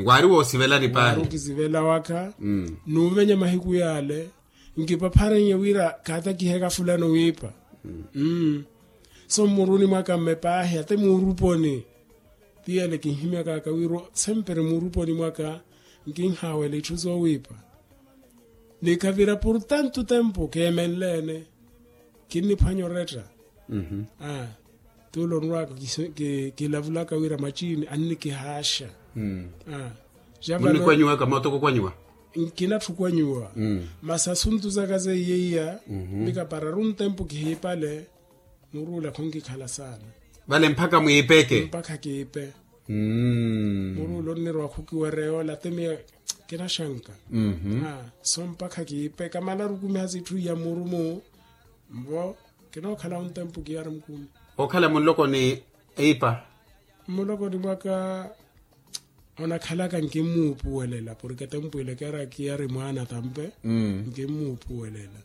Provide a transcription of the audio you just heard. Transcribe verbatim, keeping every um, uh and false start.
Waari woosivelani paahi. Waari okisivela wakha. Nuuvenya mahiku yaale nkipapharenye wira khatakiheka fulano wiipa. So mmuruni mwaka mme paahi ate muuruponi. Tiyale kinhimyakaka wira sempre muuruponi mwaka nkinhaawela itthu zoowiipa. Ni khavira por tanto tempo keemenleene. Kinniphwanya oretta. Tuulo onrwaka kilavulaka wira machini annikihaaxa. Munikwanyiwaka mootoko okwanyiwa. Nkinatthu okwanyiwa. Masi asuntu zaka zeiya iya mikapararu ntempo kihiipale. Muruula khonkikhala saana. Vale mpakha mwiipeke. Mpakha kiipe. Muruula onnirwa khukiwereya ola temiya. Kinaxanka. So mpakha kiipe kamala arukumiha sitthu iya murumu. Mbo kinookhala ontempo kiyari mukumi. Okhala munlokoni eipa. Mmulokoni mwaka onakhalaka nkimmuupuwelela porke tempo ile kiyari mwaana tampe. Nkimmuupuwelela.